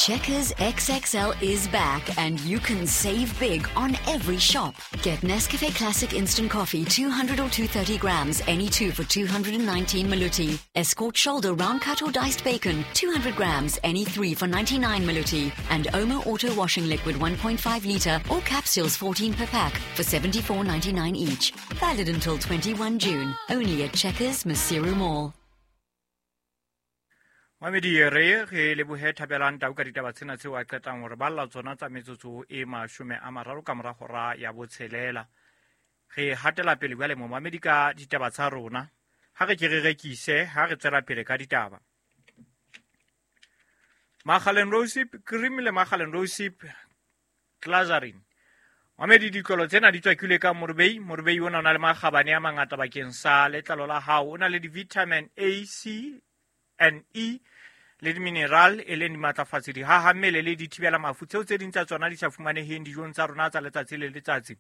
Checkers XXL is back and you can save big on every shop. Get Nescafe Classic Instant Coffee 200 or 230 grams, any two for 219 Maluti. Escort Shoulder Round Cut or Diced Bacon 200 grams, any three for 99 Maluti. And Omo Auto Washing Liquid 1.5 litre or capsules 14 per pack for 74.99 each. Valid until 21 June. Only at Checkers Maseru Mall. Mamedi re re lebohe Thabelang Tau ka ditaba tsena tseo a qetang hore balla tsona tsa metsotso e 30 ka mora hora ya botshelela. Re hatela pele jwale mo mamedi ka ditaba tsa rona. Ha re ke re rekise, ha re tswela pele ka ditaba. Makgaleng Rosip cream le Makgaleng Rosip Glazarin. Mamedi ditlolo tsena di tswakilwe ka morubei. Morubei ona o na le makgabane a mangata bakeng sa letlalo la hao. O na le di-vitamin A, C and E le di-mineral e leng dimatlafatsi, dihaha mmele le dithibela mafu tseo tse ding tsa tsona di sa fumaneheng dijong tsa rona tsa letsatsi le letsatsi.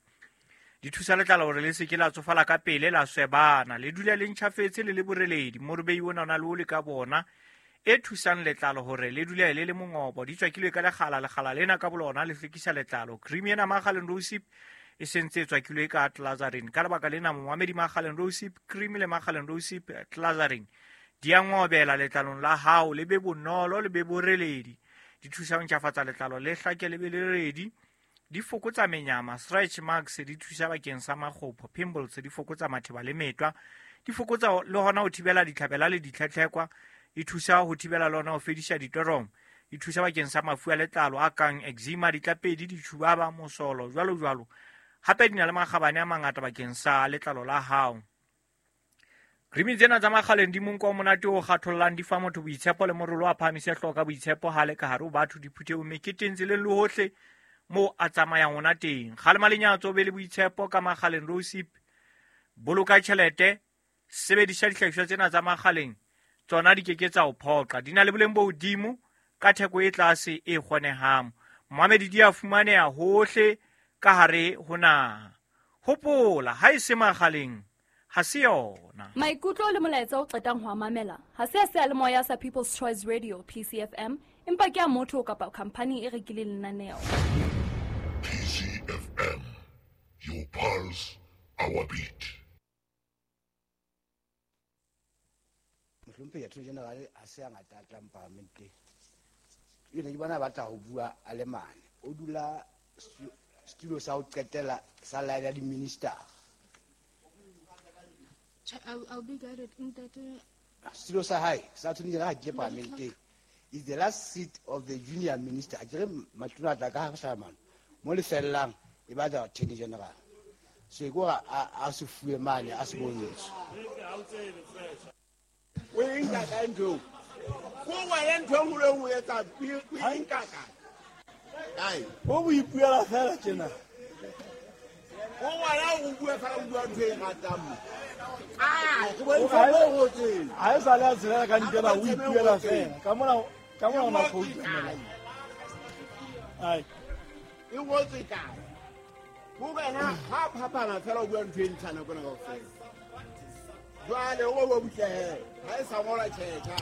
Di thusa letlalo hore le se ke la tsofala ka pele, la swebana, le dule le ntjhafetse le le boreledi. Morubei ona o na le oli ka bona e thusang letlalo hore le dule le le mongobo. Di tswakilwe ka lekgala, lekgala lena ka bolona le hlwekisa letlalo. Cream ena Makgaleng Rosip e sentse e tswakilwe ka Glazarin. Ka lebaka lena momamedi, Makgaleng Rosip cream le Makgaleng Rosip Glazarin di a ngobela letlalong la hao, le be bonolo, le be boreledi. Di thusa ho ntjhafatsa letlalo, le hlake le be le redi. Di fokotsa menyama, stretch marks, di thusa bakeng sa makgopho, pimples, di fokotsa matheba le metwa, di fokotsa le hona ho thibela ditlhabela le ditlhetlhekwa, di thusa ho thibela le hona ho fedisa ditoromo, di thusa bakeng sa mafu a letlalo a kang eczema, ditlapedi, ditjhubaba, mosolo, jwalo jwalo. Hape di na le makgabane a mangata bakeng sa letlalo la hao. Cream tsena tsa Makgaleng di monko o monate o kgathollang, di fa motho boitshepo le morolo a phahamise hlooho ka boitshepo ha le ka hare ho batho, diphuthehong, meketeng, tseleng le hohle moo a tsamayang ona teng. Kgalema lenyatso, o be le boitshepo ka Makgaleng Rosip. Boloka tjhelete, sebedisa dihlahiswa tsena tsa Makgaleng, tsona di keke tsa o phoqa. Di na le boleng bo hodimo ka theko e tlase e kgonehang. Momamedi, di a fumaneha hohle ka hare ho naha. Hopola, ha e se Makgaleng ha se yona. Maikutlo le molaetsa o qetang ho a mamela ha se a seyalemoya sa People's Choice Radio PCFM, empa ke a motho kapa khampani e rekileng lenaneo. PCFM, your pulse, our beat. Mohlomphehi Attorney General ha se a ngata a tlang parlamenteng. Ene ke bona ba batla ho bua a le mane. O dula setulo sa ho qetela sa line ya di-minister. I'll be guided. Ntate. Setulo sa hae sa Attorney General ha ke parlamenteng is the last seat of the junior minister. A kere matona a tla ka hlahamano mo le fellang e batla Attorney General. So e ke hore a se fuwe mane, a se bontshe. O e nka kae ntho eo? Ko wena ntho e nngwe le e nngwe o etsa, o e nka kae? Kae? O bo ipuela fela tjena. O wena o bua fela, o bua ntho e ratang mo. Ah, ke bontsha mo o ngotseng. Ha e sa le a tshelela ka ntle ba o ipuela fela. Ka mona, ka mona ona khoutu. Ai. E ngotswe kae? Ko wena ha phapana fela o bua ntho e ntjha nako ena kaofela. Jwale o bo butle he. Ha e sa ngolwa tjhetjha.